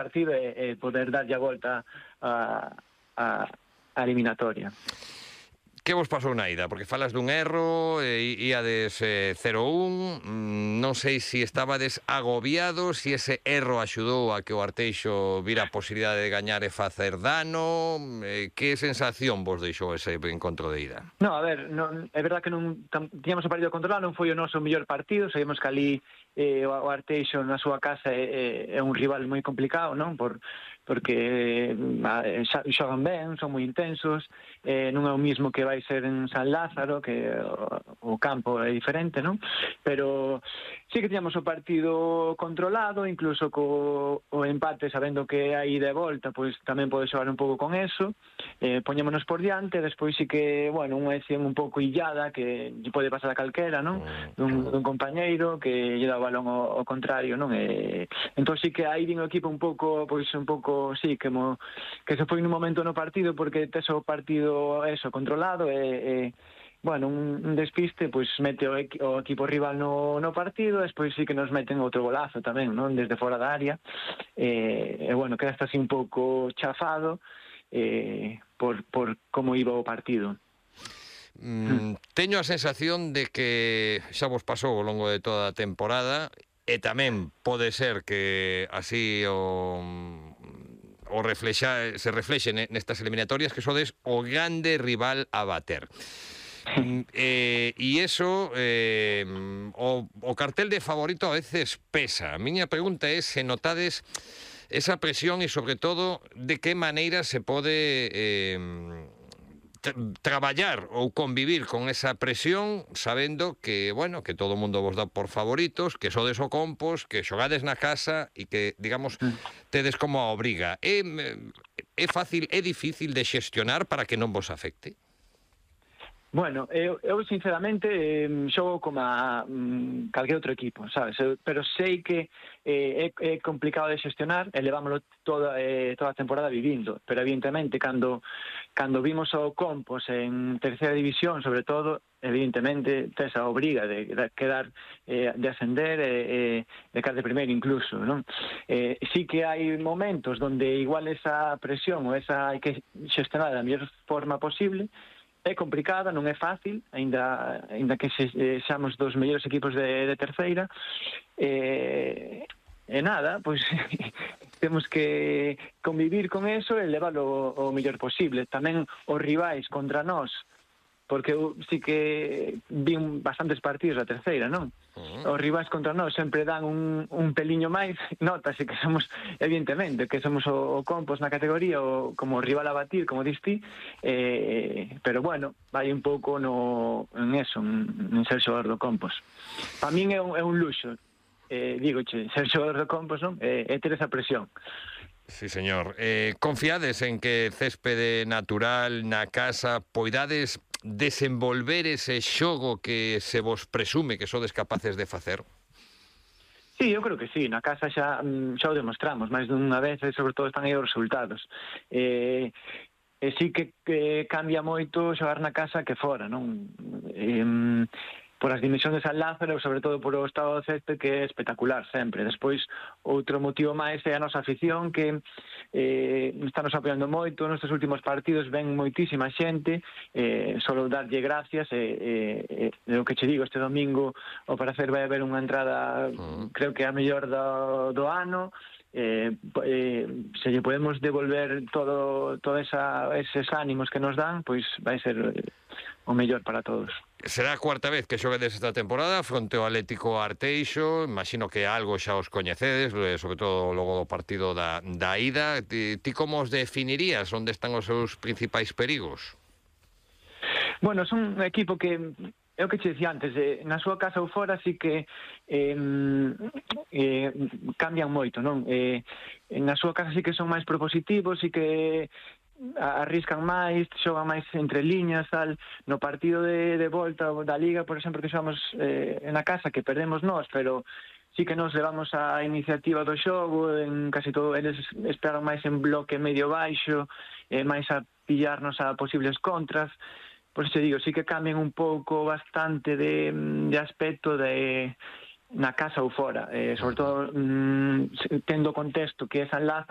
partido e poder darlle a volta a eliminatoria. Que vos pasou na ida? Porque falas dun erro, íades 0-1, non sei se estabades agobiados, se ese erro axudou a que o Arteixo vira a posibilidade de gañar e facer dano, que sensación vos deixou ese encontro de ida? No, a ver, é verdad que non tiñamos o partido controlado, non foi o noso mellor partido, sabemos que ali o Arteixo na súa casa é un rival moi complicado, non? Porque xogan ben, son moi intensos, non é o mismo que vai ser en San Lázaro, que o campo é diferente, non? Pero sí que tiñamos o partido controlado, incluso co o empate, sabendo que a ida e volta, pois tamén pode xogar un pouco con eso, poñémonos por diante, despois sí que, bueno, unha acción un pouco illada, que lle pode pasar a calquera, non? Dun compañeiro que lle dá o balón ao contrario, non? Entón sí que aí vin o equipo un pouco, sí, que se foi nun momento no partido, porque tes o partido eso controlado e bueno, un despiste pois mete o equipo rival no partido, despois sí que nos meten outro golazo tamén, non? Desde fora da área, e bueno, quedaste así un pouco chafado por como iba o partido. Teño a sensación de que xa vos pasou ao longo de toda a temporada, e tamén pode ser que así se reflexe nestas eliminatorias, que sodes o grande rival a bater. E iso, o cartel de favorito a veces pesa. A miña pregunta é se notades esa presión e, sobre todo, de que maneira se pode traballar ou convivir con esa presión, sabendo que, bueno, que todo o mundo vos dá por favoritos, que sodes o Compos, que xogades na casa e que, digamos, tedes como a obriga. É fácil, é difícil de xestionar para que non vos afecte? Bueno, eu sinceramente xogo como calquer outro equipo, sabes? Pero sei que é complicado de xestionar e levámoslo toda a temporada vivindo, pero evidentemente cando vimos o Compos en terceira división, sobre todo, evidentemente tes a obriga de quedar, de ascender e de quedar de primeiro incluso, non? Sí que hai momentos donde igual esa presión ou esa hai que xestionar da mellor forma posible. É complicada, non é fácil, aínda que seamos dos mellores equipos de terceira, e nada, pois temos que convivir con eso e leválo o mellor posible. Tamén os rivais contra nós, porque eu sí que vi bastantes partidos da terceira, non? Os rivais contra nós sempre dan un peliño máis, notase que somos, evidentemente, que somos o Compos na categoría, como rival a batir, como dis ti, pero bueno, vai un pouco en eso, en ser xogador do Compos. Para min é un luxo, dígoche, ser xogador do Compos, non? É ter esa presión. Sí, señor. Confiades en que céspede natural na casa poidades desenvolver ese xogo que se vos presume que sodes capaces de facer? Sí, eu creo que sí, na casa xa o demostramos máis dunha vez, e sobre todo están aí os resultados. E sí que cambia moito xogar na casa que fora, non? Por as dimensións de San Lázaro, sobre todo por o estado do césped, que é espectacular sempre. Despois, outro motivo máis é a nosa afición, que está nos apoiando moito. Nestes últimos partidos ven moitísima xente, solo darlle gracias, e o que che digo, este domingo ao parecer vai haber unha entrada, creo que a mellor do ano. Se lle podemos devolver todos eses ánimos que nos dan, pois vai ser o mellor para todos. Será a cuarta vez que xoguedes esta temporada fronte ao Atlético Arteixo. Imagino que algo xa os coñecedes, sobre todo logo do partido da ida. Ti como os definirías? Onde están os seus principais perigos? Bueno, son un equipo que é o que che dicía antes, na súa casa ou fora sí que cambian moito, non? Na súa casa sí que son máis propositivos, sí que arriscan máis, xogan máis entre liñas, tal. No partido de volta da Liga, por exemplo, que xogamos na casa, que perdemos nós, pero sí que nos levamos a iniciativa do xogo, en casi todo eles esperan máis en bloque medio baixo, máis a pillarnos a posibles contras. Por isso digo, sí que cambian un pouco bastante de aspecto na casa ou fora, sobre todo tendo o contexto que é San Lázaro,